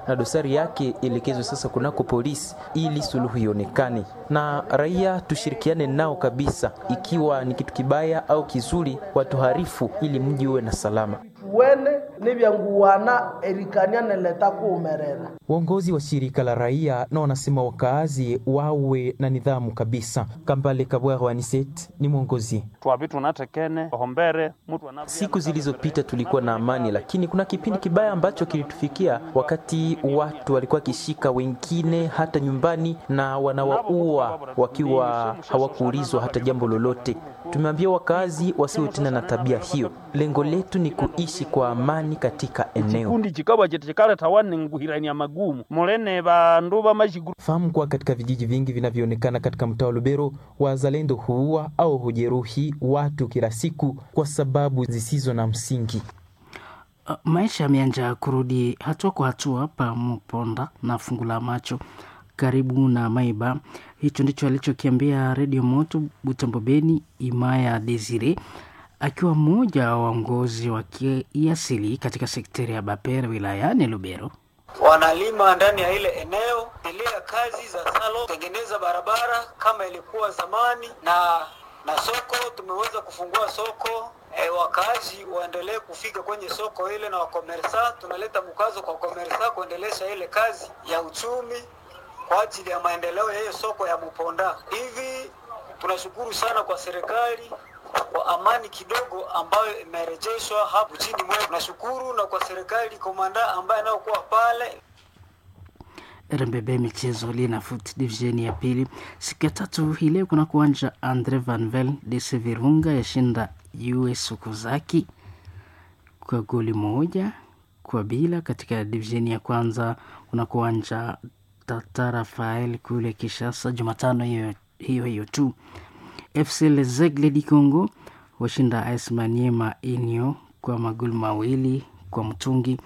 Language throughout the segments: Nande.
Na dosari yake ielekezwe sasa kunako polisi ili suluhu ionekane, na raia tushirikiane nao kabisa, ikiwa ni kitu kibaya au kizuri, watuharifu ili mji uwe na salama. Wene nivyanguwana erikania neleta kuumerera. Uongozi wa shirika la raia na wanasema wakaazi wawe na nidhamu kabisa. Kambale Kabwaro Aniset ni mwongozi. Siku zilizopita tulikuwa na amani, lakini kuna kipindi kibaya ambacho kilitufikia wakati watu walikuwa wakishika wengine hata nyumbani na wanawaua wakiwa hawakuulizwa hata jambo lolote. Tumeambia wakaazi wasiwe tena na tabia hiyo. Lengo letu ni kuishi kwa amani katika eneo. Fahamu kuwa katika vijiji vingi vinavyoonekana katika mtaa wa Lubero, wazalendo huua au hujeruhi watu kila siku kwa sababu zisizo na msingi. Maisha yameanza kurudi hatua kwa hatua pa Muponda na fungu la macho karibu na Maiba. Hicho ndicho alichokiambia Redio Moto Butembo Beni Imaya Desire akiwa mmoja wa waongozi wa kiasili katika sekteri ya Bapere wilayani Lubero. Wanalima ndani ya ile eneo, endelea kazi za salo, tengeneza barabara kama ilikuwa zamani, na soko tumeweza kufungua soko. Wakazi waendelee kufika kwenye soko ile na wakomersa, tunaleta mkazo kwa komersa kuendelesha ile kazi ya uchumi kwa ajili ya maendeleo ya hiyo soko ya Muponda. Hivi tunashukuru sana kwa serikali kwa amani kidogo ambayo imerejeshwa hapo chini mwetu. Tunashukuru na kwa serikali komanda ambaye anayokuwa pale. RMBB michezo Linafoot division ya pili siku ya tatu hii leo kuna kuanja Andre Van Vel DC Virunga yashinda US Okazaki kwa goli 1-0. Katika division ya kwanza kuna kuanja Tata Rafael kule Kishasa Jumatano hiyo hiyo hiyo tu. FC Les Aigles du Congo washinda AS Maniema Inyo kwa magoli 2 kwa mtungi,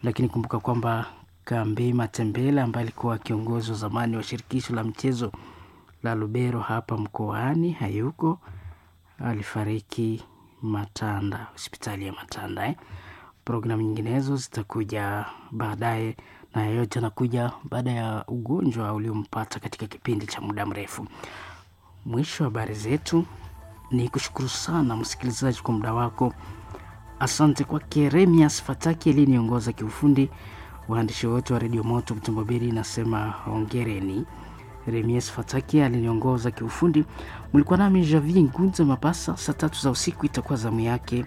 lakini kumbuka kwamba Kambi Matembele ambaye alikuwa kiongozi wa zamani wa shirikisho la mchezo la Lubero hapa mkoani hayuko, alifariki Matanda, hospitali ya Matanda. Programu nyinginezo zitakuja baadaye, na yote anakuja baada ya ugonjwa uliompata katika kipindi cha muda mrefu. Mwisho wa habari zetu, ni kushukuru sana msikilizaji kwa muda wako. Asante kwake Remias Fataki aliyeniongoza kiufundi. Waandishi wote wa Redio Moto Butembo Beni nasema hongereni. Remias Fataki aliniongoza kiufundi. Mlikuwa nami Javi Ngunza Mapasa. Saa 3 za usiku itakuwa zamu yake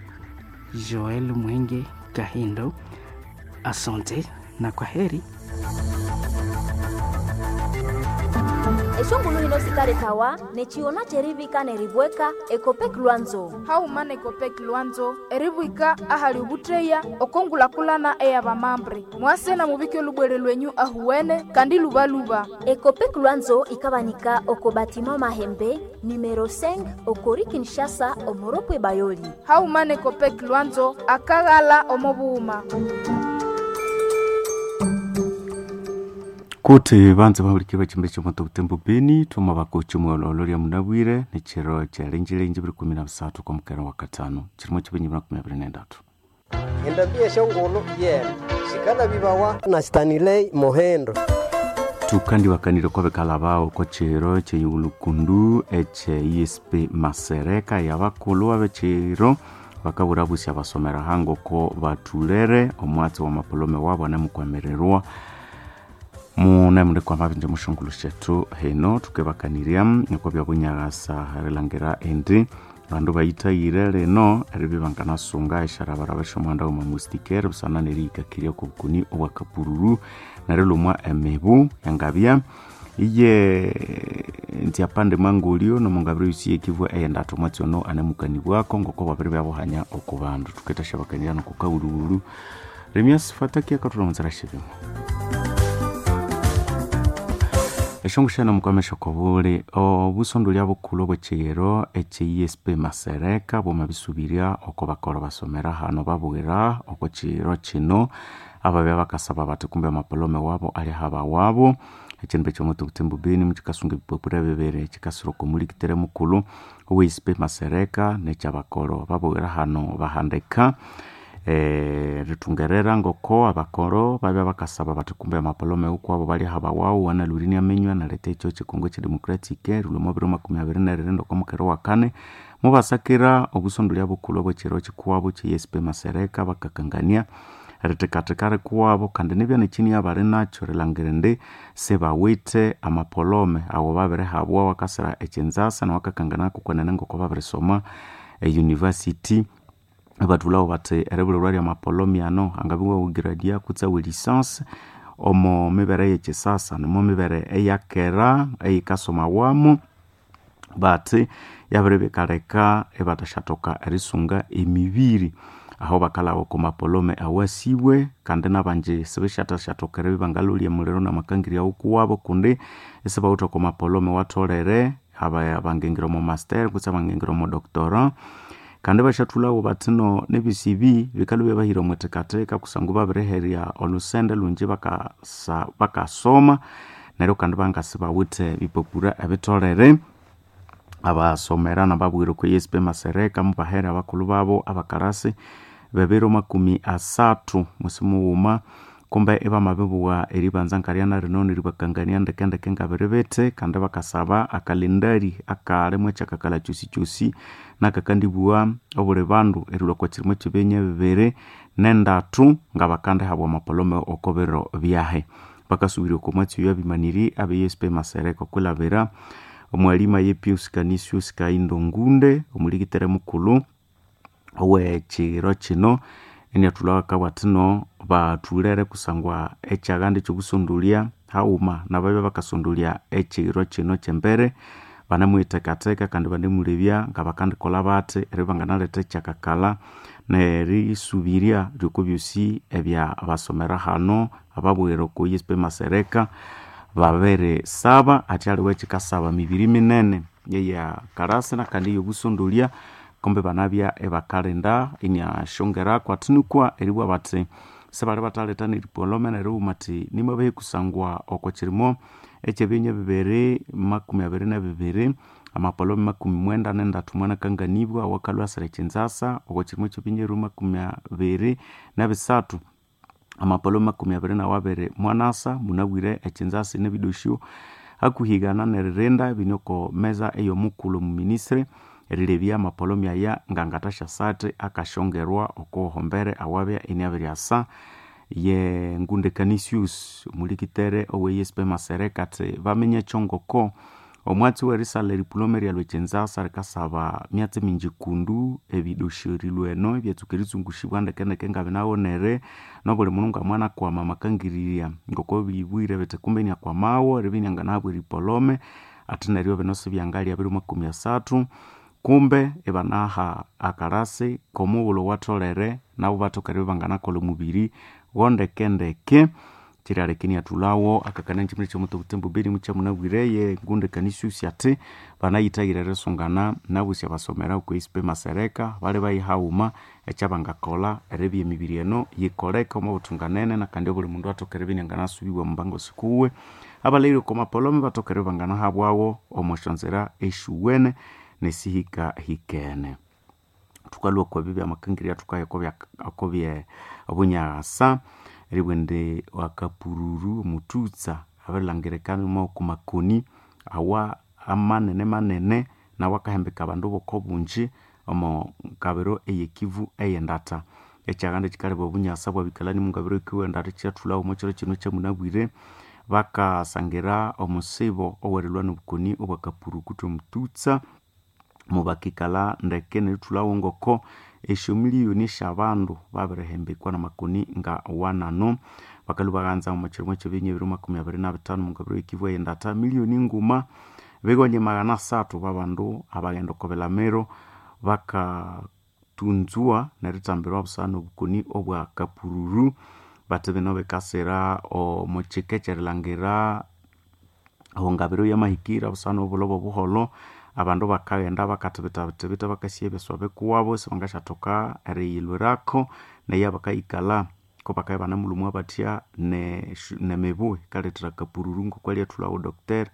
Joel Mwenge Kahindo. Asante na kwa heri. Eshongulu hino sikaletawa nechiona cherivika neribweka ekopek lwanzo haumana ekopek lwanzo eribwika ahali ubutreya okongulakulana eyabamambre mwase na mubike lubwere lwenyu ahuwene kandi lubaluba. Ekopek lwanzo ikabanika oko batima mahembe numero 5 okori Kinshasa omoropwe bayoli. Haumana ekopek lwanzo akaghala omobuuma. Kuti banze bahulikire bachimbe chomoto Butembo Beni thoma bakocha omwololo lya munabwire nechiro kyalenjelenje biri 13 kwa mukera wa katano chirimo chibenyi 23. Endabia shongolo yena shikala bibawa na Stanley Mohendo. Tukandi wakanire kwa bekala bao kwa chiro cheyulukundu eche ESP Masereka yabakulu abechiro bakaburabusia basomera hango ko batulere omwatsi wa mapolome wabo anamukwamererwa muna kwa mabinja mushungulu shetu heno tukebakanirya niko bya bunyagasa rilangira endi bandu bayitayire leno eribi banganasunga esharabaraba eshomuhanda uma mustikere busana nerihikakirya okobukuni obwakapururu nerilumwa emibu engabya iye ntiapande mwangulio nomungabiro yusi yekivwa eyendatu omwatsi ono anemukanibwako ngoko babiri byabuhanya oku bandu tuketashabakanirya nokukaululu Remias Fataki akatulamutsira shibimo eshongushana mukwamesha kobule obusondo lya bukulu obwechiyero eche ESP Masereka bwoma bisubirya oko bakolo basomera hano babwira oko chiro chino ababya bakasaba bati kumbe amapolome wabo ali haba wabo echindu ekyomoto Butembo Beni mukikasunga ebipapura bibiri kikasira oko mulikitere mukulu owe ESP Masereka nekyabakolo babwira hano bahandika Rithungerera ngoko abakoro babya bakasaba bathi kumbe amapolome ukwabo balyaha bawawu analwire inaminywa naletha ekyo kyekongo ekyedemocratic erilhwa omwa 2024 oko mukere wakane mubasakira obusondolya bukulhu obwekyiro kikuwabo kye ESP Masereka bakakangania erithekatheka rikuwabo kandi nibya nekyiniya bali nakyo erilhangira indi sibawithe amapolome awo babirihabwa wakasira ekyinzasa nawakakangana kwenene ngoko babirisoma e university. Ibathulhawo bathi eribulirwa ryamapolome ano angabya iwawugiradia kutse awe licence omo mibere eyekyisasa nomo mibere eyakera eyikasomawamu bathi yabiribya ikaleka ibathasyathoka erisunga emibiri aho bakalhaba oko mapolome awasibwe kandi nabangi sibisyathashathoka eribya ibangalolya emuliro namakangirya wukuwabo kundi isibawithe oko mapolome watholere abangingira omo master kutse abangingira omo doctorat. Kandi ibasyathulhawo bathi no nebisi ebi bikalhwa ibyabahira omwithekatheka kusangwa babiriherya olusende lungi bakasoma neryo kandi bangasibawithe ebipapura ebitholere. Abasomera nababwira okwa ESP Masereka mubahere abakulhu babo abakarasi bebiro 30 mwisi mughuma kumbe ibamabibugha eribanza nkaryana rino neribakangania ndekendeke ngabiribiti kandi bakasaba akalendari akalimu ekyakakalha kyosikyosi nakakandibugha obuli bandu erilhwa okwa kirimo ekyebinya 23 ngabakandihabwa amapolome oko biro byahe. Bakasubirya oko mwatsi oyo abimaniri abe ESP Masereka okwilabira omwalima ye Pius Canisius Kahindo Ngunde omulikitere mukulhu owekiro kino iniathulhawo akabugha athi no bathulere kusangwa ekyaghanda ekyobusondolya haghuma nababya bakasondolya ekiro kino kyembere banemuyithekatheka kandi banemulebya ngabakandikolha bathi eribya banganaletha ekyakakalha nerisubirirya lyoko byosi ebya basomera hano ababwira oko ESP Masereka babirisaba athi aliwe ekikasaba mibiri minene eya karasi nakandi eyobusondolya kumbe banabya ibakalinda iniasyongeraku athi nukwa eribugha bathi sibali bathaletha neripolome nerighuma athi nimabahe kusangwa oko kirimo ekyebinya 2022 amapolome 93 mwanakanganibwa awakalhwa asira ekyinzasa oko kirimo ekyebinya 23 amapolome 22 mwanasa munabwire ekyinzasa nebidosyo hakuhigana neririnda bine oko meza eyomukulhu omuministry erilebya amapolome aya ngangathasyasa akasyongerwa oko hombere awabya iniabiryasa. Ye Ngunde Canisius omulikitere owe ESP Masereka athi baminya ekyongoko omwatsi werisalha eripolome eryalhwa ekyinzasa rikasaba myatsi mingi kundu ebidosyo erilhwa eno ebyatsuka eritsungusibwa ndekendeke ngabinawonere nobuli mundu ngamwanakwama amakangirirya ngoko bibwire bithi kumbe iniakwamawo eribya inianganahabwa eripolome athi neryo bino sibyangalya 2030 kumbe ibanaha akarasi komughulhu owatholere nabo bathoka eribya banganakolha omubiri wondekendeke. Kyirialeka iniathulhawo akakania kyimene kyomuti obutembo beni mukyamunabwire ye Ngunde Canisius athi banayithayire erisungana nabosi abasomera okwa ESP Masereka bali bayihaghuma ekyabangakolha eribya emibiri eno yikoleka omo buthunganene nakandi obuli mundu athoka eribya inianganasubibwa omubango sikuwe. Abalhaghire oko mapolome bathoka eribya banganahabwawo omo syonzira esyiwene nesihikahikene. Thukalhwa okwa ebyo byamakangirya thukaya okobye obunyaghasa eribugha indi akapururu omuthutsa abirilhangirika oko makoni awa amanene manene nawu akahembeka abandu boko bungi omo ngabiro eyekivu eyendatha. Ekyaghanda kyikaleba obunyasa bwabikalani mungabiro ekivu eyendatha kyathulhawo omo kyiro kino kyamunabwire bakasangira omusibo owerilhwa nobukoni obwa kapuru kutse omuthutsa mubakikalha ndeke nerithulhawo ngoko esyomiliyoni esyabandu babirihembekwa namakoni nga wanano. Bakalhwa baghanza omo kirimo ekyebinya 2025 mungabiro ekivu eyendatha miliyoni nguma bigonye 300 babandu abaghenda oko bilamiro bakatunzwa nerithambirwa busana nobukoni obwa kapururu bathi bino bikasira omo kika ekyerilhangira ehongabiro yamahikira busana obulobo obuholho abandu bakaghenda bakathibithathibitha bakasiya ebyaswa bikuwabo sibangasyathoka eriyilhwirako neyo abakayikalha kubakabya ibanamulhumwa bathya nemibu yikalethera kapururu ngoko alyathulhawo Dr.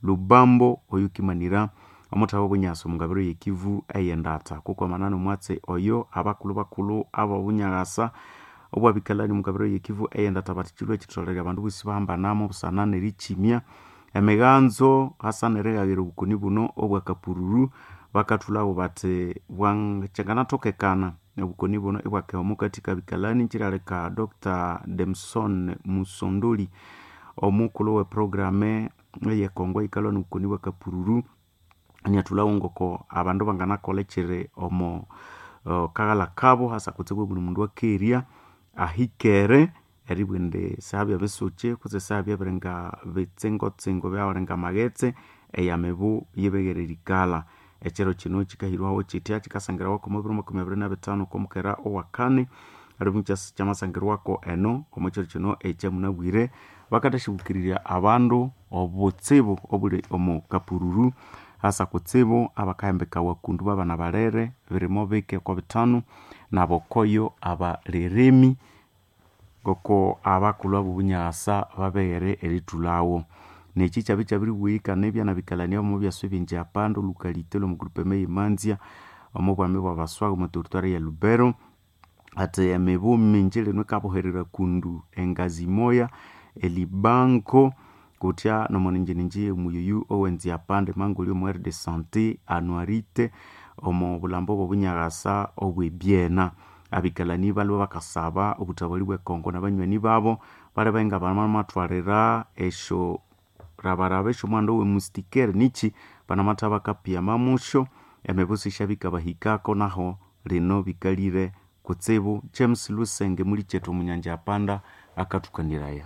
Lubambo oyukimanira Omuthawa obunyasa omungabiro yekivu eyendata kukwamana nomwatsi oyo abakulhu bakulhu abobunyagasa obwabikalani omungabiro yekivu eyendata bati kilwe kitholere abandu bosi bahambanamo busana nerikimya emiganzo hasa nerighaghira obukoni buno obwakapururu. Bakathulabo bati bwanganathokekana obukoni buno ibwakeha omukati kabikalani. Kiraleka Dr Demson Musondoli, omukulhu we programe eyekongo eyikalwa nobukoni bwakapururu, iniathulhawo ngoko abandu banganakolha ekiri omo kaghalha kabo hasa kutsibu buli mundu akerya ahikere eribugha indi sihabya bisuki kutse sihabya biringa bitsingo-tsingo byabiringa amaghetse eyamibu yibighere erikalha. Ekiro kino kikahirwaho kitya kikasangirawa omo biro 25 okwamukera owakani alimu kyamasangirwako eno omo kiro kino ekyamunabwire. Bakathasyibukirira abandu obutsibu obuli omo kapururu hasa kutsibu abakahembekawa kundu babana balere birimo bike oko bitano nabokoyo abalirimi ngoko abakulhu abobunyasa babeghere erithulhawo. Neki kyabya kyabiribwihikana ebyanabikalania omo byasa ebyenji apanda olukalite lwomu groupement eyemanzya omo bwami bwabaswaga omo territoire ya Lubero, ati emibu mingi lino ikabuherera kundu engazi moya elibango kutya nomoninjininji omuyuyu owenzi apanda emangolya omu aire de santé anuarite omo bulhambo obwobunyakasa obwebyena. Abikalani balwe bakasaba obuthabali bwekongo nabanywani babo balebe nga bamathwalira esyo rabaraba esyomuhanda owemustikere niki banamatha bakapiyama musyo emibuso isyabikabahikako naho lino bikalire kutsibu. James Lusenge mulikyethu omunyanja apanda akathukaniraya.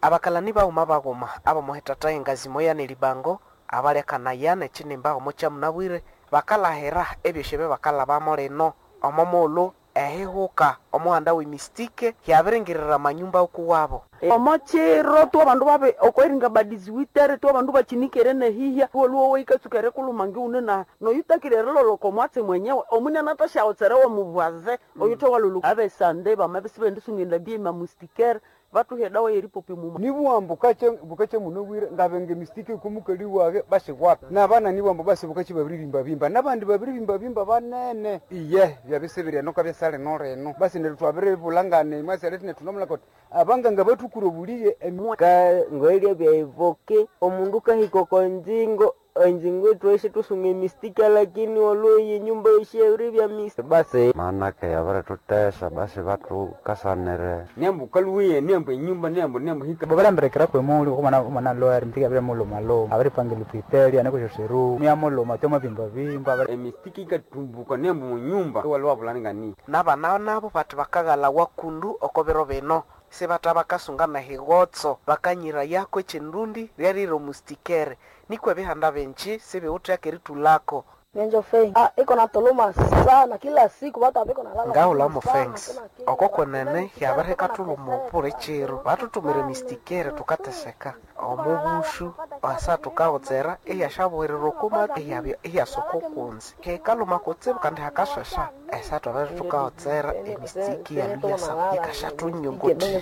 Abakalani baghuma baghuma abomuhetata engazi moya nelibango abalyakanaya nekinimba omo kyamunabwire bakalahira ebyosi ebyo bakalhabamo lino omo mughulhu ehihuka omuhanda wemistike yabiringirira amanyumba okuwabo. Omo kiro twabandu babe okweringa badiziwitere twabandu bachinikere nehihya woluwo weikatsuka erikuluma ngiune na noyutakire eriloloko mwatsi mwenyewe omunene atasyawotsere womubwaze oyuthe walulu abesande bamabe sibendisunga byema mustikere batuhe dawa yeripopi muma nibuwambu bukache bukache muno bwire ngabenge mistike kumukali wage bashigwapa nabana nibuwambu basi bukache babiririmba bimba nabandi babiririmba bimba banene iye byabisibirya noka byasale noreno basi neryo bulangane mwasale tine tunomula koti abanganga batukuro buliye ka ngoelya byaivoke omundu kahika konjingo enjingo tweshe tusunga emistika lakini olweye nyumba yeshe bya mistike basi manake yabiritutesa basi batukasanire nembu kaluwiye nembu enyumba nembu nembu hika babalambirekera kwemuli okumana omwana lwari mtiki abire muluma luma abiripangila ipiteli anekushosheru myamuluma te mwabimbabimba emistiki ikatumbuka nembu munyumba waliwabulangani nabana nabo bati bakaghala wakundu oko biro bino sibata bakasunga nehigotso bakanyira yako echindundi lyarire omustikere nikwo ebihanda binji sibiwuthyaka eritulako. Nyenjo fei. Ah, iko na toloma sana kila siku watu abiko nalala. Ngaula mo thanks. Oko kwenene yabirikatuluma obuli kiro batutumire mistikere tukateseka omubushu asa tukawotsera iyashabuhirira okuma iyabya iyasoka okunzi hekaluma kutsibu kandi hakashasha esa twabere tukawotsera emistiki yaluyasa yikashatunyunguthirya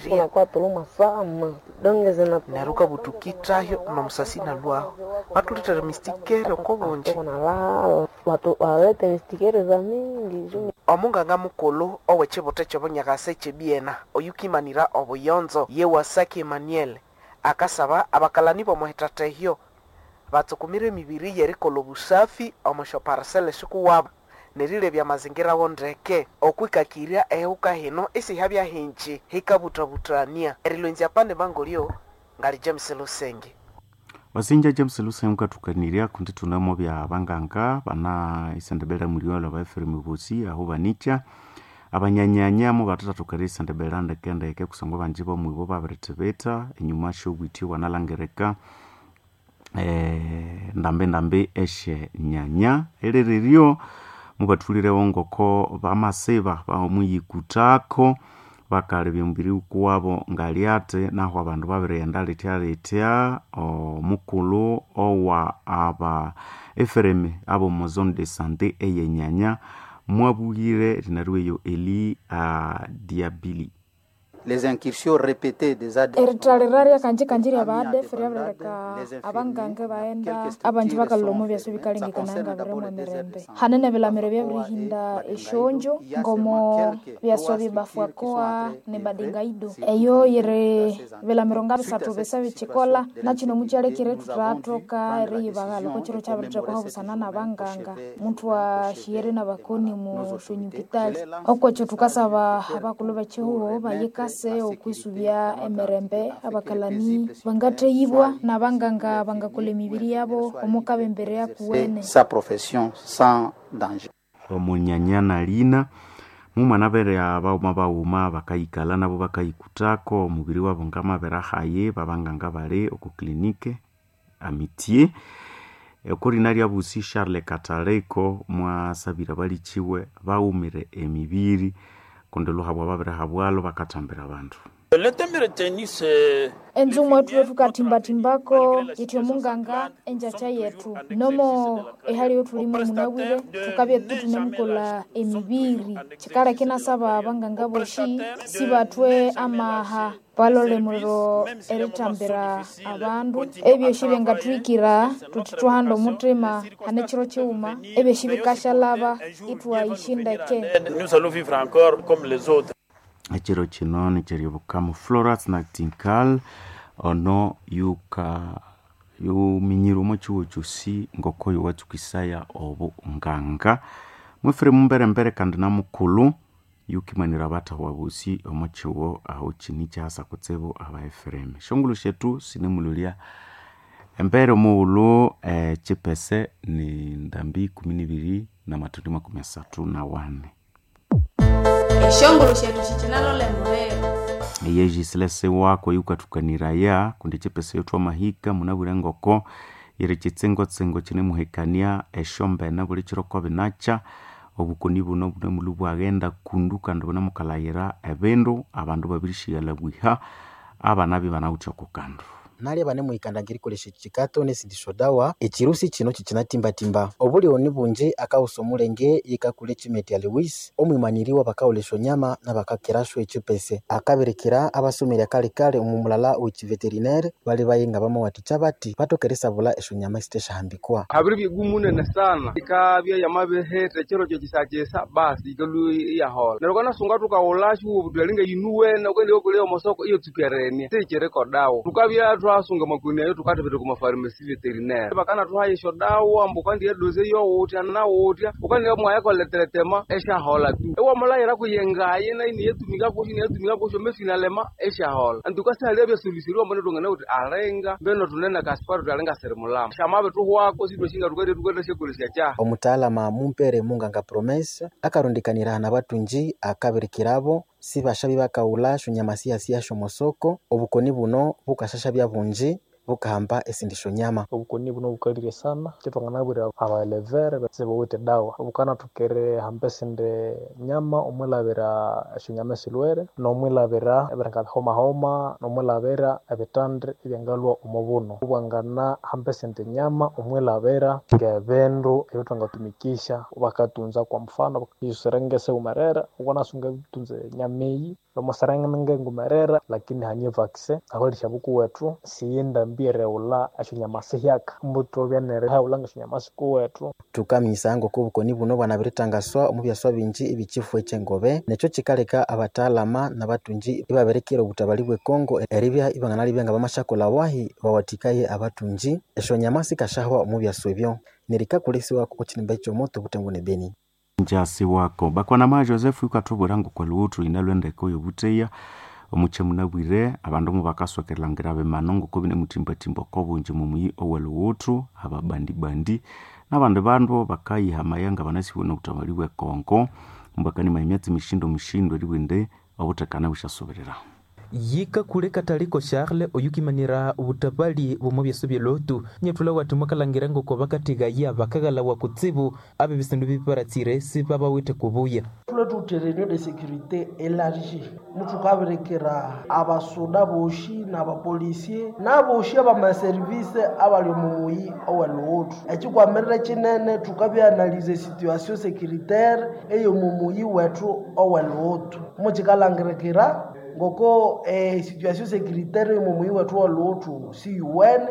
neryo ukabutukithayo nomusasi nalwaho batulithere mistikere okobungi. Watu walete mistikere za mingi. Omunganga mukulhu owekibutha ekyobunyakasa ekyebyena oyukimanira obuyonzo yewasaki Emmanuel akasaba abakalani bomuhithatha ehyo batsukumire emibiri yerikolha obusafi omo syoparisela esikuwabo nerilebya amazingira wo ndeke okwikakirya ehihuka hino isihabya hingi hikabuthabuthania erilwenzya pande bangolyo ngali James Lusenge. Wasinja James Lusenge ukathukanirya kundi thunamo bya banganga bana isendebera muliwalo ba Ephraim Bosi aho banikya abanyanyanya mu bathathukanirya isendebera ndekendeke kusangwa banji bomwibo babirithibitha enyuma syobwithyo bwanalangirika ndambi ndambi esye nyanya eririryo mubathulirewo ngoko bamasiba bamuyikuthako bakalebya omubiri kuwabo ngalyate naho abandu babirighenda lithya lithya. Omukulhu owa aba Ephraim abomu zone de santé eyenyanya mwabugire rinarweyo Eli Diabili. Les incursions répétées des ADF Eritalira ryakanjikanji rya ba ADF ryabirileka abanganga baghenda abanji bakalhwa omo byasa ebikalengekanaya nga biri mwemirembe. Hanene ebilamiro byabirihinda esyonjo ngomo byaswa byebafuakoa ne badingaido. Eyo yiri bilamiro ngabisathu bisa bikyikolha nakino mukyalekire ithuthathoka eriyibaghalha okwa kyiro kyabirithekwaho busana nabanganga muthwasiyere nabakoni mu syonyupitali. Okwekyo thukasaba abakulhu bekyihugho bayikase okwisubya emirembe abakalani bangatheyibwa nabanganga bangakolha emibiri yabo omukabembere yakuwene. Sa profession sans danger. Omunyanya lina mumwana bere abaghuma baghuma bakayikalha nabo bakayikuthako omubiri wabo ngamabere ahaye babanganga bali oku clinique Amitié. Okurina lyabusi Charles Kataleko mwasabira balikiwe baghumire emibiri kundi luhabwa babirihabwalho bakathambira abandu. Enzungu ethu thukathimba-thimbako ithwe omunganga enjakya yethu nomo ehali ethulimu munabwire thukabya ithunemukolha emibiri. Kyikaleka inasaba abanganga bosi sibathwe amaha balole muliro erithambira abandu. Ebyosi byangathuhikira thuthi thwahanda omuthima hane kyiro kyighuma ebyosi bikasyalhaba ithwayishindeke. Ekiro kino nikyeryobukamu Florence Nightingale ono yuka yuminyire omo kyihugho kyosi ngoko yowatsukisaya obunganga. Mwifire mumberembere kandi namukulhu yukimanira abathahwa bosi omo kyihugho aho kini kyahasa kutsibu aba Ephraim. Esyongulhu syethu sinemulolya embere omughulhu kyipese ni ndambi ikumi nibiri namathundi makumi asathu nawani. Esyongulhu syethu sikinalolha emubiri. Eyejisilese wako yukathukaniraya kundi kyipese yothwamahika munabwire ngoko yiri kyitsingotsingo kyinemuhekania esyombene buli kyiro kobinakya. Obukoni buno bunemulhu bwaghenda kundu kandi bunemukalhayira ebindu abandu babirishyighalha bwiha abana ibanawithe oko kandu. Nalya banemuhikanda ngerikolesya ekyikato nesindi syodawa ekirusi kino kikyinatimbatimba. Obulyoni bungi akaghusa omulenge yikakula ekimetya Lewis omwimaniri wabakawulha esyonyama nabakakirasyo ekyipese. Akabirikira abasomerya kalekale omu mulala owekyiveterinary bali nga bamawathikya bathi bathoke erisabulha esyonyama esithasyahambikwa. Habiri bigumu munene sana ikabya yamabihitha ekiro kyekisakyisa basi ikalhwa iyaholha. Neryo wukanasunga thukawulhasyo iwabugha wuthi alinga yinuwene wukaghenda iwakolya omosoko iyatsuka erinia sikyiriko dawa. Thukabya thwasunga amakoni ayo thukathibitha okwa mafarmasi veterinary bakanathuhayo esyodawa ambu wukandiya edoze yowuthya nawuthya wukandiya mwayakolha eteretema esyaholha tu. Iwamulayira kuyengayi nayo iniyatumika kusyo iniyatumika kusyo mefinalema esyaholha. Antuka sihalibya solution ambu thwanganabugha thuthi alinga mbeno thunene kasipara thuthi alinga sirimulama. Syamabithuhwako isithwasyinga thukendasyakolesya kyahi. Omutaalama mumpere munganga Promesa akarundikanira nabathungi akabirikirabo sibasyabi bakawulha esyonyama siyasiya syomosoko. Obukoni buno bukasyasya bungi bukahamba esindi syonyama. Obukoni buno bukalire sana kyithwanganabwira abaelevere sibawithe dawa bukanathoka erihamba esindi nyama omwilhabira esyonyama esilhwere nomwilhabira ebiringa bihomahoma nomwilhabira ebithandi ebyangalhwa omo buno. Bwanganahamba esindi nyama omwilhabira ngebindu ebyathwangatumikisya bakatunza kwa mfano esiserenge esiwumerere wukanasunga eritunza enyama eyi lwamasarenge ngumerera lakini hane evaccine abalhisya bukuwethu siyindambi erighulha esyonyama sihyaka muthobya nerihaghulha ngesyonyama sikuwethu. Thukaminyisaya ngoko obukoni buno bwanabiritangaswa omu byaswa bingi ebyekifo ekyengobe nekyo kyikaleka abataalama nabathungi ibabirikira obutabali bwe Congo eribya ibanganalibya nga bamasyakolha wahi bawathikaye abathungi esyonyama sikasyahwa omu byaswa ebyo nerikakolesiwa oko kyinimba ekyomoto obutembo ne Beni. Njasi wako bakwanama Joseph yukathubwira ngoko lhuwuthu lhina lwendeko yobutheya omukye munabwire abandu mubakasokerelangira bimano ngoko binemuthimbathimba oko bungi mumuyi owelhuwuthu ababandibandi nabandi bandu bakayihamaya nga banasibwe nobuthamali bwe Congo mbakanimaya emyatsi mishindo mishindo eribugha indi obuthekane busyasubirira. Yikakule Kataliko Charles oyukimanira obutabali bw'omu byaso bye Lutu nyethula wati mwakalhangira ngoko bakathigaya bakaghalawa kutsibu abe bisindu biparatsire sibabawithe kubuya. Thulwe thuwithe réunion de sécurité élargie muthukabirikira abasuda bosi n'abapolisiye n'abosi abamaservice abali omu muyi oweluwuthu. Ekyikwamirire kyinene thukabya-analyza esituation sécuritaire ey'omu muyi wethu oweluwuthu mukikalhangirikira Ngoko situation sécuritaire omo muyi wethu wa Luhutu siyuwene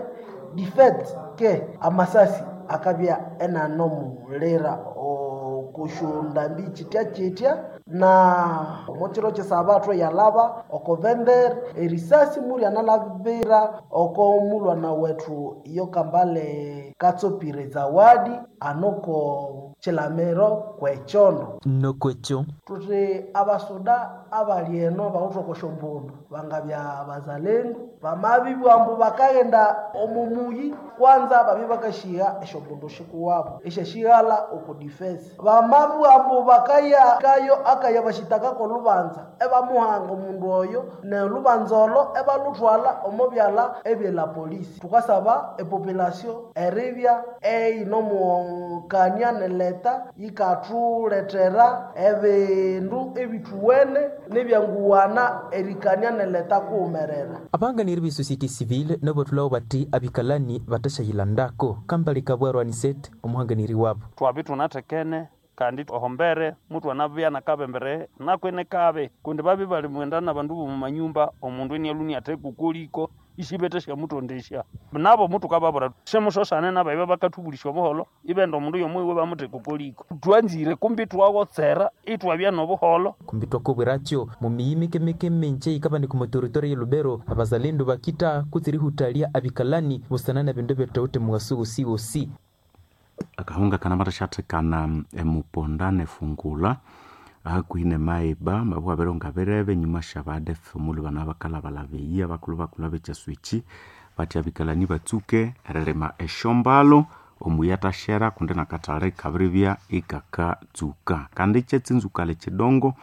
du fait que amasasi akabya enanomulira okushundambi chitya chitya na omukiro kyesabathu yalaba oko vendere erisasi mulyanalabira oko mulwana wethu iyo Kambale Katsopire Zawadi anoko chilamiro kwechondo. Nokwekyo Tuthi abasuda abali eno bawithe okosyombundu bangabya bazalendu bamabibwa ambu bakaghenda omu muyi kwanza babye bakashiha esyombundu shikuwabo esyashighala oku defense. Bamabibwa ambu bakaya kayo akaya bashitakako olubanza ebamuhanga omundu oyo nolubanza olo ebaluthwala omo byalha ebyela polisi. Thukasaba epopulation eribya eyinomukania neleta yikathulethera ebindu ebithuwene nebyanguwana erikania neleta kuwumerera. Abanganiri be société civile nobathulhawo bati abikalani batashayilandako. Kambale Kabwero Anisete omuhanganiri wabo. Twabi tunathekene kandi ohombere mutu anabya nakabembere nakwene kabe kundi babi bali mwenda nabandu bomumanyumba omundu enialuni atheka isibete syamutondesya nabo mutu kababura semusosane nabaiba bakathubulisya obuholo ibenda omundu yomuiwe bamutheka okoliko twanzire kumbi twawotsera itwabya nobuholo. Kumbi twakobwirakyo mumiyi mikemike minje ikabandika omu territory ye Lubero abazalendu bakita kutsirihuthalya abikalani busana na bindu ebyatawithe mughaso wosiwosi. Akahunga kanamathathikana emuponda nefungula hakuhi nemaiba mabugha bironga birebe enyuma syabadef omulhu bana bakalhabalhaba eyi abakulhu bakulhu abekyaswekyi bathi abikalani batsuke erilima esyombalo omuyi athasyera kundi nakathali kabiribya ikakatsuka. Kandi kyetsinzukali kidongo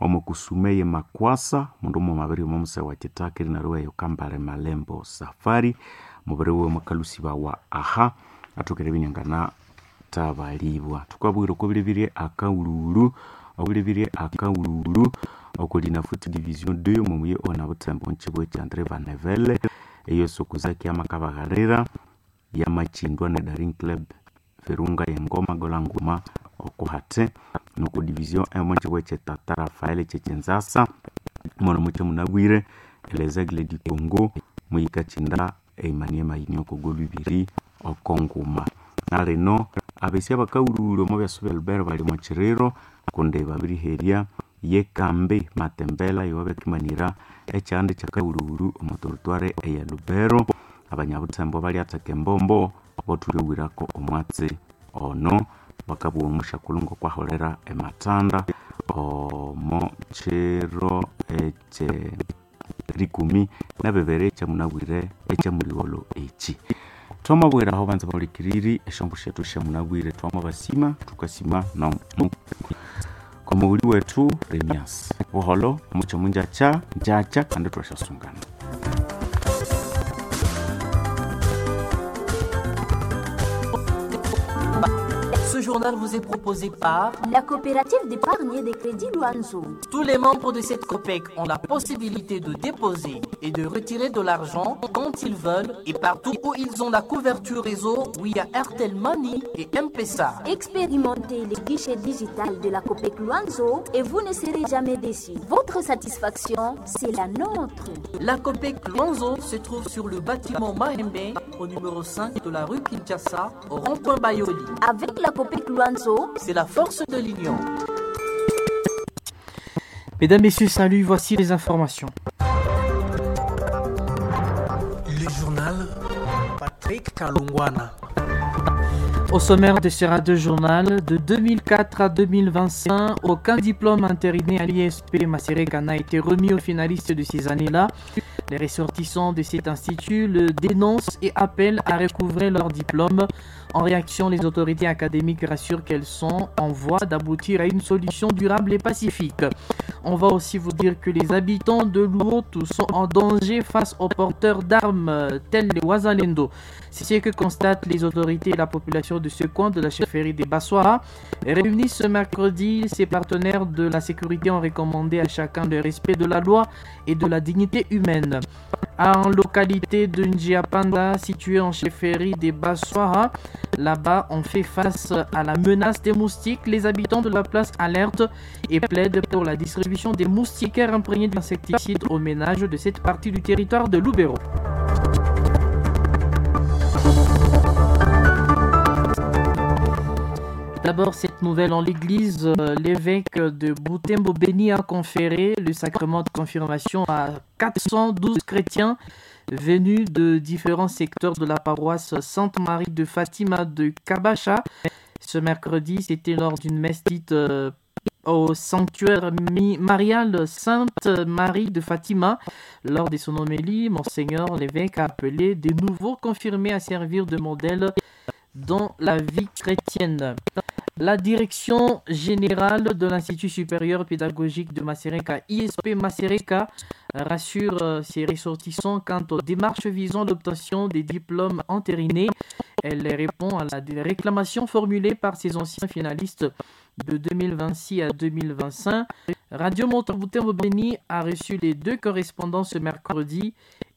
omo kusuma eye Makwasa mundu mughuma abirihuma omuseghe wa Kitaka erinaryo eyo Kambale Malembo Safari mubiri wiwe mwakalusibawa aha athokere eribya inyanganathabalibwa. Thukabwira oko bilebirye akaghulhughulhu obilebirye akaghulhughulhu oko Linafoot Division 2 omo muyi onabuthembo omukyibughe kya Andre Vanevele eyo Sokuzaki yamakabaghalira yamakyindwa ne Daring Club Virunga yengoma gola nguma oko hathi noko Division 1 omukyibughe kye Tata Rafael kyekyinzasa mono mukye munabwire Les Aigles du Congo muyikakyinda e Maniema Union oko golu ibiri oko nguma. Nalino abesi abakaghulhughulhu omo byasa bya Lubero bali omo kyiriro kundi babiriherya yekambi Matembela yowabakimanira ekyanda kyakaghulhughulhu omo territoire eya Lubero. Abanyabuthembo balyatheka embombo bothulyoghirako omwatsi ono bakabugha omusyakulhu ngokwaholera emathanda omo kyiro ekye rikumi nabibiri ekyamunabwire ekyamuligholho eki. Twamabwira aho banza bahulikiriri esyombo syethu syamunabwire twamabasima thukasima komughuli wethu Remias. Buholho mukye munjakya njakya kandi thwasyasungana. Ce journal vous est proposé par la coopérative d'épargne et de crédit Luanzo. Tous les membres de cette COPEC ont la possibilité de déposer et de retirer de l'argent quand ils veulent et partout où ils ont la couverture réseau via Airtel Money et M-Pesa. Expérimentez les guichets digital de la COPEC Luanzo et vous ne serez jamais déçus. Votre satisfaction, c'est la nôtre. La COPEC Luanzo se trouve sur le bâtiment Mahembe au numéro 5 de la rue Kinshasa au rond-point Bayoli. Avec la COPEC Luanzo, c'est la force de l'union. Mesdames, Messieurs, salut, voici les informations. Le journal Patrick Kalungwana. Au sommaire de ce radio journal, de 2004 à 2025, aucun diplôme intériné à l'ISP Masereka n'a été remis aux finalistes de ces années-là. Les ressortissants de cet institut le dénoncent et appellent à recouvrer leur diplôme. En réaction, les autorités académiques rassurent qu'elles sont en voie d'aboutir à une solution durable et pacifique. On va aussi vous dire que les habitants de Luotu sont en danger face aux porteurs d'armes tels les Wazalendo. C'est ce que constatent les autorités et la population de ce coin de la chefferie des Bassoira. Réunis ce mercredi, ses partenaires de la sécurité ont recommandé à chacun le respect de la loi et de la dignité humaine. En localité de Njiapanda, située en chefferie des Bassoira, là-bas, on fait face à la menace des moustiques. Les habitants de la place alertent et plaident pour la distribution des moustiquaires imprégnés d'insecticides aux ménages de cette partie du territoire de Lubero. D'abord, cette nouvelle en l'église, l'évêque de Butembo Beni a conféré le sacrement de confirmation à 412 chrétiens venus de différents secteurs de la paroisse Sainte-Marie de Fatima de Kabacha. Ce mercredi, c'était lors d'une messe dite au sanctuaire marial Sainte-Marie de Fatima. Lors de son homélie, Monseigneur l'évêque a appelé des nouveaux confirmés à servir de modèle dans la vie chrétienne. La direction générale de l'Institut supérieur pédagogique de Masereka, ISP Masereka, rassure ses ressortissants quant aux démarches visant l'obtention des diplômes entérinés. Elle répond à la réclamation formulée par ses anciens finalistes de 2026 à 2025. Radio Montaboutin Béni a reçu les deux correspondants ce mercredi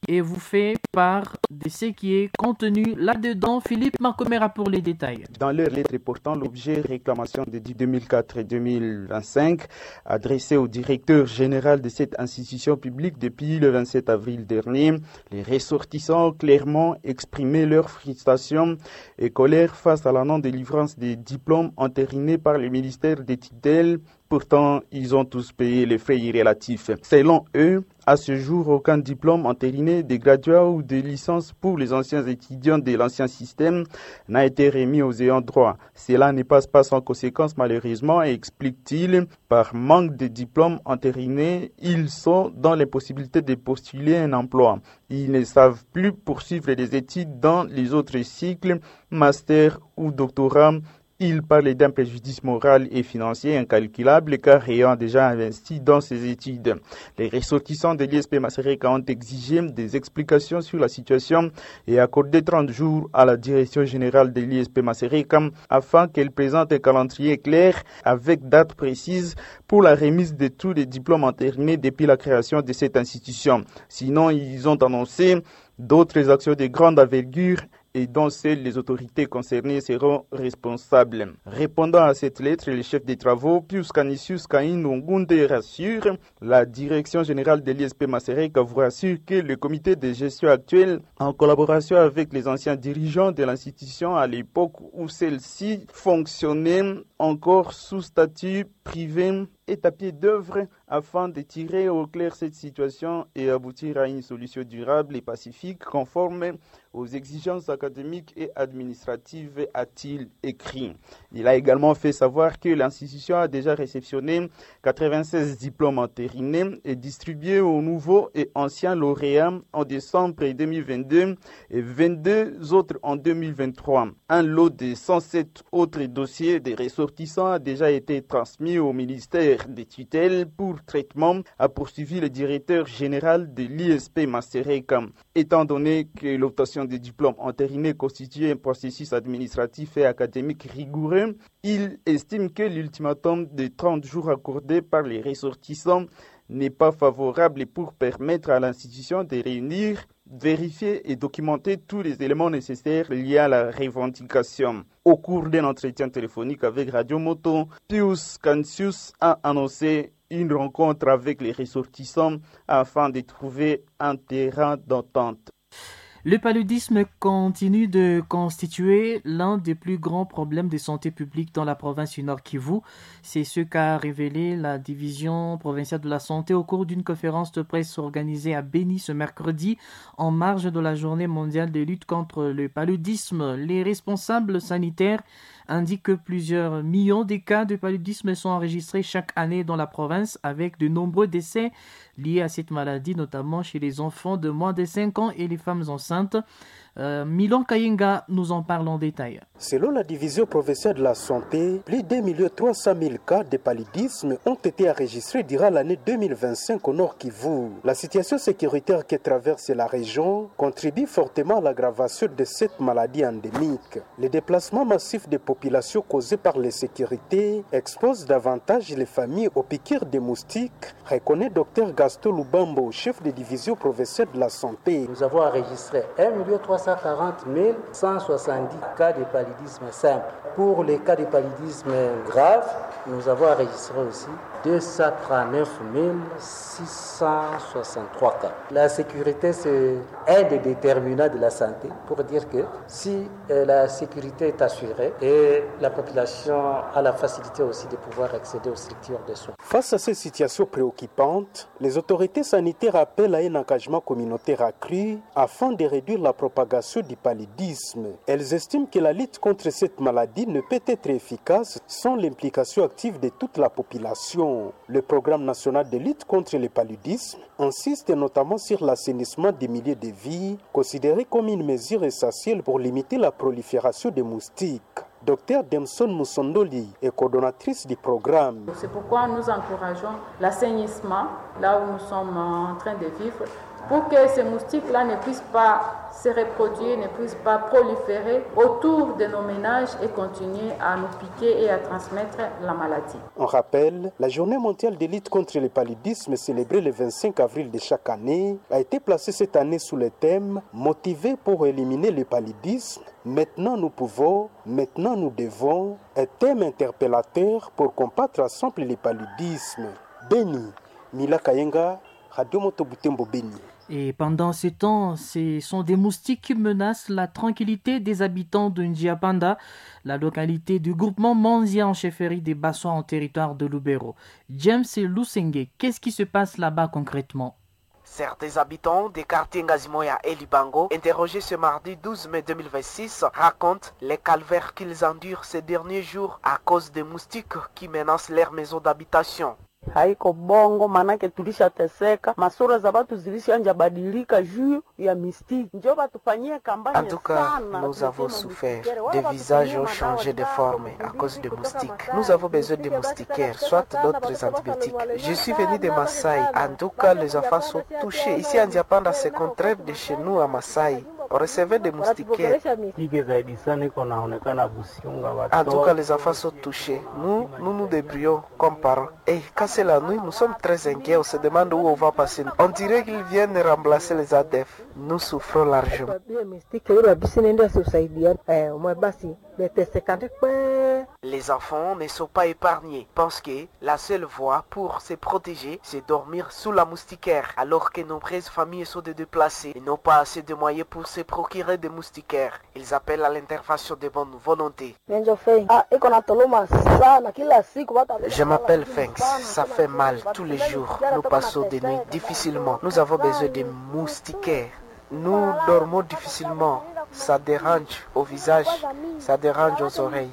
et vous fait part de ce qui est contenu là-dedans. Philippe Marcomera pour les détails. Dans leur lettre portant l'objet réclamation de 2004 et 2025, adressée au directeur général de cette institution publique depuis le 27 avril dernier, les ressortissants ont clairement exprimé leur frustration et colère face à la non-délivrance des diplômes entérinés par le ministère des tutelles. Pourtant, ils ont tous payé les frais irrélatifs. Selon eux, à ce jour, aucun diplôme entériné des graduats ou des licences pour les anciens étudiants de l'ancien système n'a été remis aux ayants droit. Cela ne passe pas sans conséquence, malheureusement, explique-t-il. Par manque de diplômes entérinés, ils sont dans l'impossibilité de postuler un emploi. Ils ne savent plus poursuivre des études dans les autres cycles, master ou doctorat. Il parle d'un préjudice moral et financier incalculable car ayant déjà investi dans ses études. Les ressortissants de l'ISP Masereka ont exigé des explications sur la situation et accordé 30 jours à la direction générale de l'ISP Masereka afin qu'elle présente un calendrier clair avec date précise pour la remise de tous les diplômes entérinés depuis la création de cette institution. Sinon, ils ont annoncé d'autres actions de grande envergure et dont seules les autorités concernées seront responsables. Répondant à cette lettre, le chef des travaux, Pius Canisius Kain Ngunde, rassure la direction générale de l'ISP Masereka vous rassure que le comité de gestion actuel, en collaboration avec les anciens dirigeants de l'institution à l'époque où celle-ci fonctionnait encore sous statut privé, est à pied d'œuvre afin de tirer au clair cette situation et aboutir à une solution durable et pacifique conforme aux exigences académiques et administratives, a-t-il écrit. Il a également fait savoir que l'institution a déjà réceptionné 96 diplômes entérinés et distribués aux nouveaux et anciens lauréats en décembre 2022 et 22 autres en 2023. Un lot de 107 autres dossiers des ressortissants a déjà été transmis au ministère des tutelles pour traitement, a poursuivi le directeur général de l'ISP Masereka. Étant donné que l'obtention des diplômes entérinés constitue un processus administratif et académique rigoureux, il estime que l'ultimatum de 30 jours accordé par les ressortissants n'est pas favorable pour permettre à l'institution de réunir, vérifier et documenter tous les éléments nécessaires liés à la revendication. Au cours d'un entretien téléphonique avec Radio Moto, Pius Cansius a annoncé une rencontre avec les ressortissants afin de trouver un terrain d'entente. Le paludisme continue de constituer l'un des plus grands problèmes de santé publique dans la province du Nord Kivu. C'est ce qu'a révélé la division provinciale de la santé au cours d'une conférence de presse organisée à Beni ce mercredi en marge de la journée mondiale de lutte contre le paludisme. Les responsables sanitaires indiquent que plusieurs millions de cas de paludisme sont enregistrés chaque année dans la province avec de nombreux décès liés à cette maladie, notamment chez les enfants de moins de 5 ans et les femmes enceintes. Milan Kayenga nous en parle en détail. Selon la division provinciale de la santé, plus d'1 300 000 cas de paludisme ont été enregistrés durant l'année 2025 au Nord Kivu. La situation sécuritaire que traverse la région contribue fortement à l'aggravation de cette maladie endémique. Les déplacements massifs des populations causés par l'insécurité exposent davantage les familles aux piqûres des moustiques, reconnaît Dr Gaston Lubambo, chef de division provinciale de la santé. Nous avons enregistré 1 340 170 cas de paludisme simple. Pour les cas de paludisme grave, nous avons enregistré aussi 239 663 cas. La sécurité, c'est un des déterminants de la santé pour dire que si la sécurité est assurée et la population a la facilité aussi de pouvoir accéder aux structures de soins. Face à ces situations préoccupantes, les autorités sanitaires appellent à un engagement communautaire accru afin de réduire la propagation du paludisme. Elles estiment que la lutte contre cette maladie ne peut être efficace sans l'implication active de toute la population. Le programme national de lutte contre le paludisme insiste notamment sur l'assainissement des milieux de vie, considéré comme une mesure essentielle pour limiter la prolifération des moustiques. Dr Demson Moussondoli est coordonnatrice du programme. C'est pourquoi nous encourageons l'assainissement là où nous sommes en train de vivre pour que ces moustiques-là ne puissent pas se reproduire, ne puissent pas proliférer autour de nos ménages et continuer à nous piquer et à transmettre la maladie. On rappelle, la journée mondiale de lutte contre le paludisme célébrée le 25 avril de chaque année a été placée cette année sous le thème « Motivé pour éliminer le paludisme, maintenant nous pouvons, maintenant nous devons », un thème interpellateur pour combattre ensemble le paludisme. Beni, Mila Kayenga, Radio Moto Butembo Beni. Et pendant ce temps, ce sont des moustiques qui menacent la tranquillité des habitants de Njiapanda, la localité du groupement Manzia en chefferie des Bassois en territoire de Lubero. James Lusenge, qu'est-ce qui se passe là-bas concrètement? Certains habitants des quartiers Ngazimoya et Libango, interrogés ce mardi 12 mai 2026, racontent les calvaires qu'ils endurent ces derniers jours à cause des moustiques qui menacent leurs maisons d'habitation. Haiko bongo manake tulishateseka, masura za watu zilishanja badilika juu ya mistiki. Njo batufanyie kampanye. En tout cas, nous avons souffert. Des visages ont changé de forme à cause des moustiques. Nous avons besoin de moustiquaires, soit d'autres antibiotiques. Je suis venu de Maasai. En tout cas, les enfants sont touchés. Ici à Nziapanda, c'est contraire de chez nous à Maasai. On recevait des moustiquaires. En tout cas, les enfants sont touchés. Nous, nous nous débrouillons comme parents. Et quand c'est la nuit, nous sommes très inquiets. On se demande où on va passer. On dirait qu'ils viennent remplacer les ADF. Nous souffrons largement. Les enfants ne sont pas épargnés. Pensent que la seule voie pour se protéger, c'est dormir sous la moustiquaire, alors que nombreuses familles sont déplacées et n'ont pas assez de moyens pour se procurer des moustiquaires. Ils appellent à l'intervention de bonne volonté. Je m'appelle Fenx. Ça fait mal tous les jours. Nous passons des nuits difficilement. Nous avons besoin de moustiquaires. Nous dormons difficilement. Ça dérange au visage, ça dérange aux oreilles.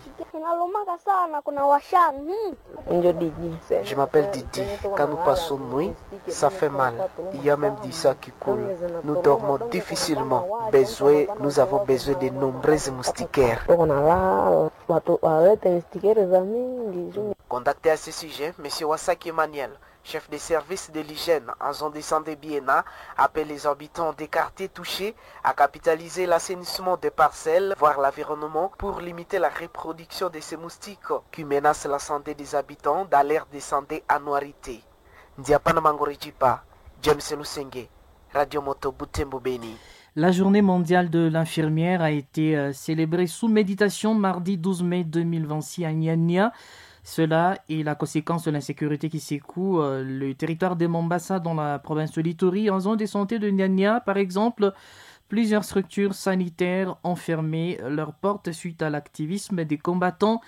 Je m'appelle Didi. Quand nous passons nuit, ça fait mal. Il y a même du sang qui coule. Nous dormons difficilement. Besoin, nous avons besoin de nombreuses moustiquaires. Contacté à ce sujet, M. Wasaki Emmanuel, chef des services de l'hygiène en zone de santé Biena, appelle les habitants des quartiers touchés à capitaliser l'assainissement des parcelles, voire l'environnement, pour limiter la reproduction de ces moustiques qui menacent la santé des habitants dans l'aire de santé Anuarité. Ndiapana Mangorijipa, James Lusenge, Radio Moto Butembo Beni. La journée mondiale de l'infirmière a été célébrée sous méditation mardi 12 mai 2026 à Nyanya. Cela est la conséquence de l'insécurité qui secoue le territoire de Mombasa dans la province de l'Ituri. En zone de santé de Nyanya, par exemple, plusieurs structures sanitaires ont fermé leurs portes suite à l'activisme des combattants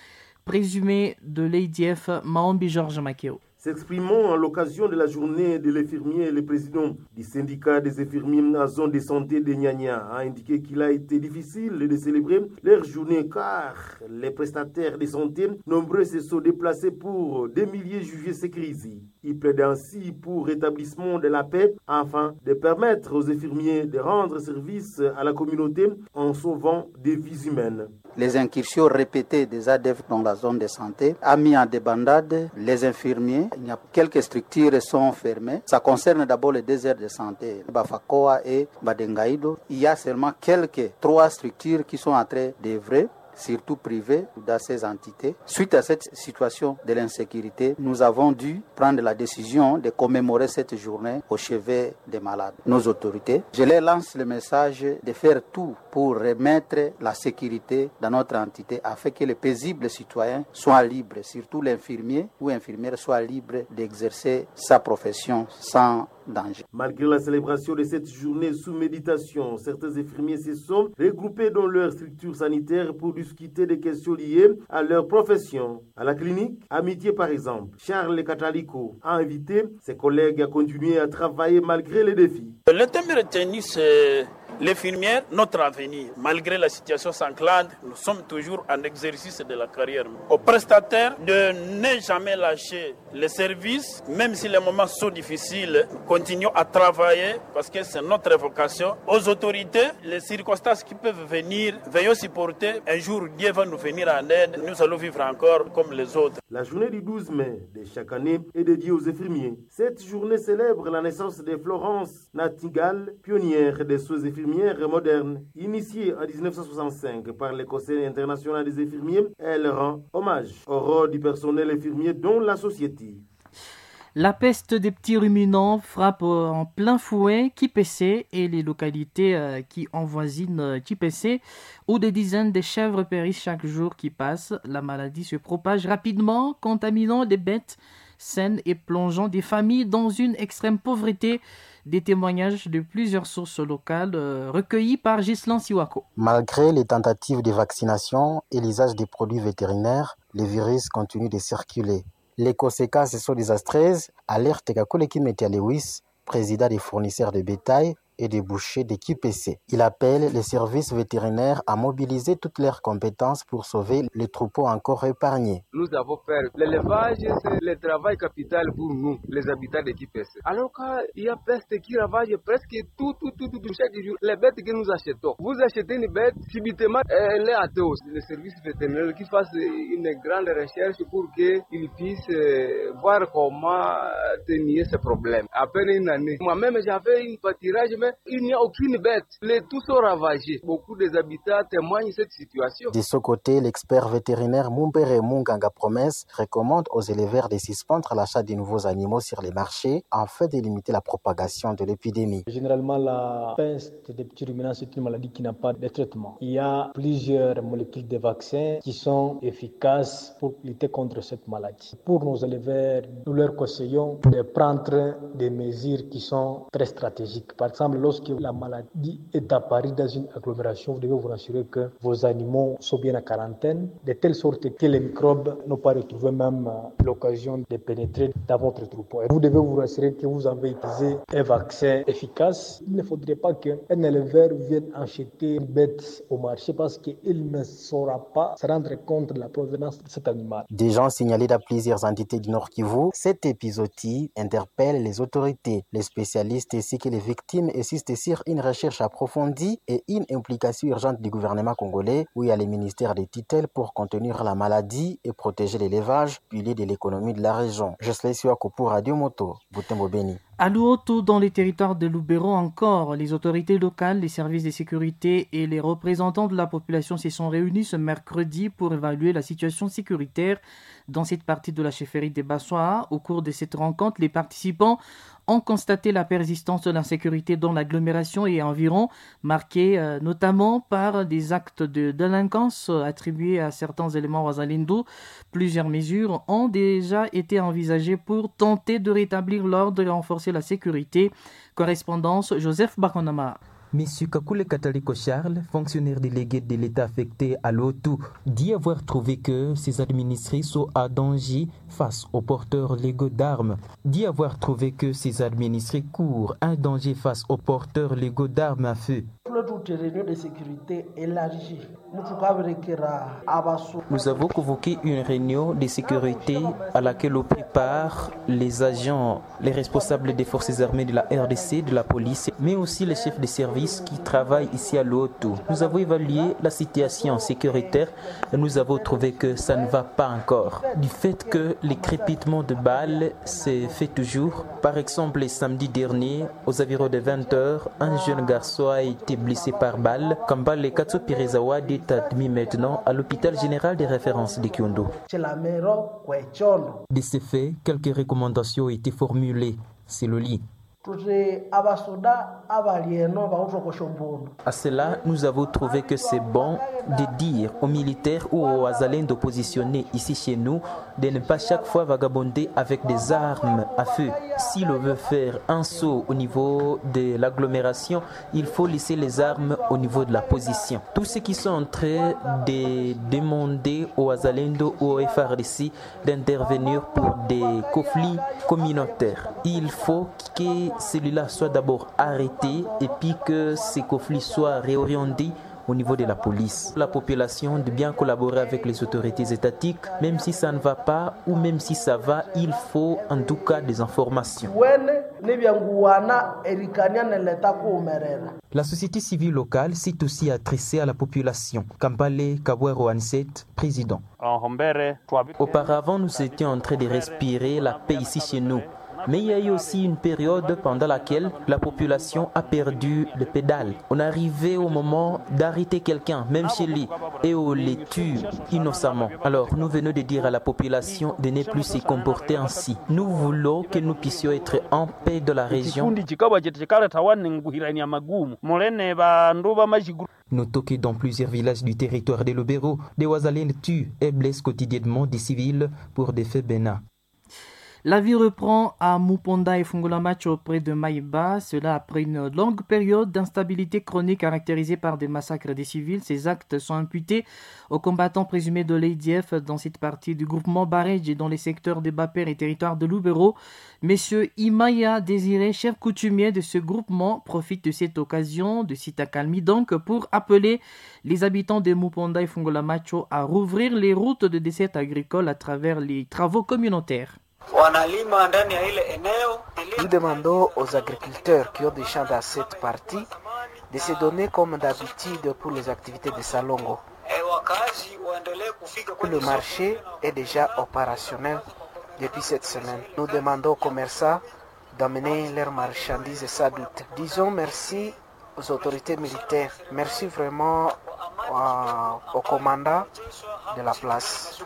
présumés de l'ADF Maombi Georges Makeo. S'exprimant à l'occasion de la journée de l'infirmier, le président du syndicat des infirmiers à zone de santé de Nyanya a indiqué qu'il a été difficile de célébrer leur journée car les prestataires de santé nombreux se sont déplacés pour des milliers juger ces crises. Il plaide ainsi pour rétablissement de la paix afin de permettre aux infirmiers de rendre service à la communauté en sauvant des vies humaines. Les incursions répétées des ADF dans la zone de santé a mis en débandade les infirmiers. Il y a quelques structures sont fermées. Ça concerne d'abord les déserts de santé, Bafakoa et Badengaïdo. Il y a seulement quelques trois structures qui sont en train d'œuvrer, surtout privées dans ces entités. Suite à cette situation de l'insécurité, nous avons dû prendre la décision de commémorer cette journée au chevet des malades. Nos autorités, je leur lance le message de faire tout pour remettre la sécurité dans notre entité afin que les paisibles citoyens soient libres, surtout l'infirmier ou infirmière soit libre d'exercer sa profession sans danger. Malgré la célébration de cette journée sous méditation, certains infirmiers se sont regroupés dans leur structure sanitaire pour discuter des questions liées à leur profession. À la clinique Amitié par exemple, Charles Catalico a invité ses collègues à continuer à travailler malgré les défis. Le thème retenu, c'est l'infirmière, notre avenir. Malgré la situation sanglante, nous sommes toujours en exercice de la carrière. Aux prestataires de ne jamais lâcher les services, même si les moments sont difficiles, continuons à travailler parce que c'est notre vocation. Aux autorités, les circonstances qui peuvent venir, veuillons supporter. Un jour, Dieu va nous venir en aide. Nous allons vivre encore comme les autres. La journée du 12 mai de chaque année est dédiée aux infirmiers. Cette journée célèbre la naissance de Florence Nightingale, pionnière des soins infirmiers moderne. Initiée en 1965 par le Conseil international des infirmiers, elle rend hommage au rôle du personnel infirmier dans la société. La peste des petits ruminants frappe en plein fouet Kipese et les localités qui envoisinent Kipese, où des dizaines de chèvres périssent chaque jour qui passe. La maladie se propage rapidement, contaminant des bêtes saines et plongeant des familles dans une extrême pauvreté. Des témoignages de plusieurs sources locales recueillis par Ghislain Siwako. Malgré les tentatives de vaccination et l'usage des produits vétérinaires, le virus continue de circuler. Les conséquences sont désastreuses, alerte Kakule Kimetia Lewis, président des fournisseurs de bétail et des bouchers de QPC. Il appelle les services vétérinaires à mobiliser toutes leurs compétences pour sauver les troupeaux encore épargnés. Nous avons peur. L'élevage, c'est le travail capital pour nous, les habitants de QPC. Alors qu'il y a peste qui ravage presque tout, chaque jour, les bêtes que nous achetons. Vous achetez une bête, subitement, elle est athée. Le service vétérinaire qui fasse une grande recherche pour qu'il puisse voir comment tenir ce problème. À peine une année. Moi-même, j'avais une pâturage, mais il n'y a aucune bête. Les tous sont ravagés. Beaucoup des habitants témoignent de cette situation. De ce côté, l'expert vétérinaire Mumbere Munganga Promesse recommande aux éleveurs de suspendre l'achat de nouveaux animaux sur les marchés afin de limiter la propagation de l'épidémie. Généralement, la peste des petits ruminants, c'est une maladie qui n'a pas de traitement. Il y a plusieurs molécules de vaccins qui sont efficaces pour lutter contre cette maladie. Pour nos éleveurs, nous leur conseillons de prendre des mesures qui sont très stratégiques. Par exemple, lorsque la maladie est apparue dans une agglomération, vous devez vous rassurer que vos animaux sont bien en quarantaine, de telle sorte que les microbes n'ont pas retrouvé même l'occasion de pénétrer dans votre troupeau. Et vous devez vous rassurer que vous avez utilisé un vaccin efficace. Il ne faudrait pas qu'un éleveur vienne acheter une bête au marché parce qu'il ne saura pas se rendre compte de la provenance de cet animal. Des gens signalés dans plusieurs entités du Nord Kivu, cet épisodie interpelle les autorités, les spécialistes ainsi que les victimes insistent sur une recherche approfondie et une implication urgente du gouvernement congolais où il y a les ministères des tutelles pour contenir la maladie et protéger l'élevage, pilier de l'économie de la région. Je suis pour Radio Moto, Butembo Beni. À Luoto, dans les territoires de Lubero encore, les autorités locales, les services de sécurité et les représentants de la population se sont réunis ce mercredi pour évaluer la situation sécuritaire dans cette partie de la chefferie des Bassois. Au cours de cette rencontre, les participants ont constaté la persistance de l'insécurité dans l'agglomération et environ, marquée notamment par des actes de délinquance attribués à certains éléments Wazalendo. Plusieurs mesures ont déjà été envisagées pour tenter de rétablir l'ordre et renforcer la sécurité. Correspondance Joseph Bakonama. Monsieur Kakule Kataliko Charles, fonctionnaire délégué de l'État affecté à Luotu, dit avoir trouvé que ses administrés sont à danger face aux porteurs légaux d'armes. Dit avoir trouvé que ses administrés courent un danger face aux porteurs légaux d'armes à feu. Nous avons convoqué une réunion de sécurité à laquelle ont pris part les agents, les responsables des forces armées de la RDC, de la police, mais aussi les chefs de service qui travaillent ici à Luotu. Nous avons évalué la situation sécuritaire et nous avons trouvé que ça ne va pas encore. Du fait que les crépitements de balles s'est fait toujours. Par exemple, le samedi dernier, aux environs de 20h, un jeune garçon a été blessé par balle. Kambale Katso Pirezawadi est admis maintenant à l'hôpital général des références de Kyondo. De ce fait, quelques recommandations ont été formulées. C'est le lit. À cela, nous avons trouvé que c'est bon de dire aux militaires ou aux azalènes d'oppositionner ici chez nous de ne pas chaque fois vagabonder avec des armes à feu. Si l'on veut faire un saut au niveau de l'agglomération, il faut laisser les armes au niveau de la position. Tous ceux qui sont en train de demander aux Azalendo ou aux FRDC d'intervenir pour des conflits communautaires, il faut que celui-là soit d'abord arrêté et puis que ces conflits soient réorientés au niveau de la police. La population de bien collaborer avec les autorités étatiques, même si ça ne va pas ou même si ça va, il faut en tout cas des informations. La société civile locale s'est aussi adressée à la population. Kampale Kabwero Anset, président. Auparavant, nous étions en train de respirer la paix ici chez nous. Mais il y a eu aussi une période pendant laquelle la population a perdu le pédale. On arrivait au moment d'arrêter quelqu'un, même chez lui, et on les tue innocemment. Alors nous venons de dire à la population de ne plus se comporter ainsi. Nous voulons que nous puissions être en paix dans la région. Notons que dans plusieurs villages du territoire de Lubero, des Wazalènes tuent et blessent quotidiennement des civils pour des faits bénins. La vie reprend à Muponda et Fungulamacho auprès de Maïba, cela après une longue période d'instabilité chronique caractérisée par des massacres des civils. Ces actes sont imputés aux combattants présumés de l'ADF dans cette partie du groupement Barej et dans les secteurs des Baper et territoires de Lubero. Monsieur Imaya Désiré, chef coutumier de ce groupement, profite de cette occasion de cette accalmie donc pour appeler les habitants de Muponda et Fungulamacho à rouvrir les routes de dessert agricole à travers les travaux communautaires. Nous demandons aux agriculteurs qui ont des champs dans cette partie de se donner comme d'habitude pour les activités de Salongo. Le marché est déjà opérationnel depuis cette semaine. Nous demandons aux commerçants d'amener leurs marchandises sans doute. Disons merci aux autorités militaires. Merci vraiment au commandant de la place.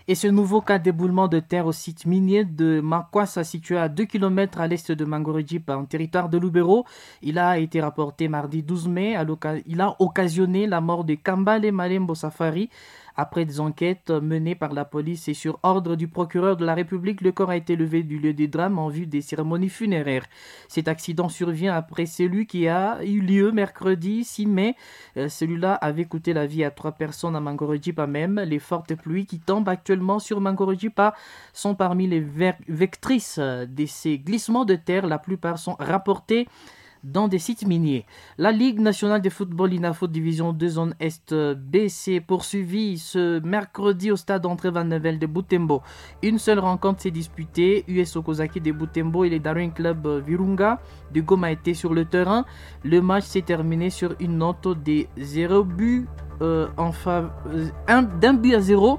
Et ce nouveau cas d'éboulement de terre au site minier de Makwasa, situé à 2 km à l'est de Mangorejipa, en territoire de Lubero, il a été rapporté mardi 12 mai. Il a occasionné la mort de Kambale Malembo Safari. Après des enquêtes menées par la police et sur ordre du procureur de la République, le corps a été levé du lieu du drame en vue des cérémonies funéraires. Cet accident survient après celui qui a eu lieu mercredi 6 mai. Celui-là avait coûté la vie à 3 personnes à Mangorejipa même. Les fortes pluies qui tombent actuellement sur Mangorejipa sont parmi les vectrices de ces glissements de terre. La plupart sont rapportés dans des sites miniers. La Ligue nationale de football INAFOOT Division 2 Zone Est B s'est poursuivie ce mercredi au stade André Van Nevel de Butembo. Une seule rencontre s'est disputée. US Okozaki de Butembo et les Darwin Club Virunga de Goma étaient sur le terrain. Le match s'est terminé sur une note de 0 but d'un but à 0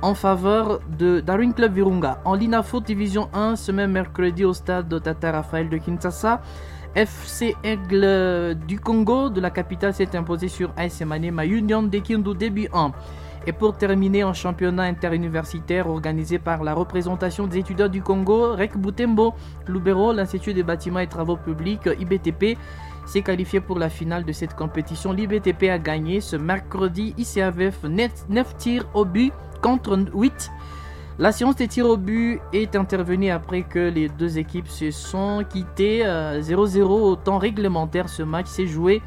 en faveur de Darwin Club Virunga. En l'INAFOOT Division 1, ce même mercredi au stade Tata Raphaël de Kinshasa, FC Aigle du Congo de la capitale s'est imposé sur AS Maniema Union de Kindu début 1. Et pour terminer en championnat interuniversitaire organisé par la représentation des étudiants du Congo, REC Butembo, Lubero, l'Institut des bâtiments et travaux publics IBTP s'est qualifié pour la finale de cette compétition. L'IBTP a gagné ce mercredi ICAVF 9 tirs au but contre 8. La séance des tirs au but est intervenue après que les deux équipes se sont quittées 0-0 au temps réglementaire. Ce match s'est joué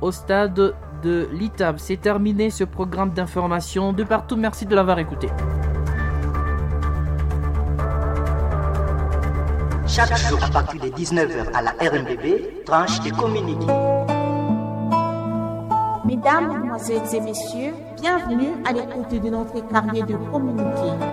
au stade de l'ITAB. C'est terminé ce programme d'information de partout. Merci de l'avoir écouté. Chaque jour à partir de 19h à la RMBB, tranche et communiqué. Mesdames, Mesdemoiselles et Messieurs, bienvenue à l'écoute de notre carnet de communiqué.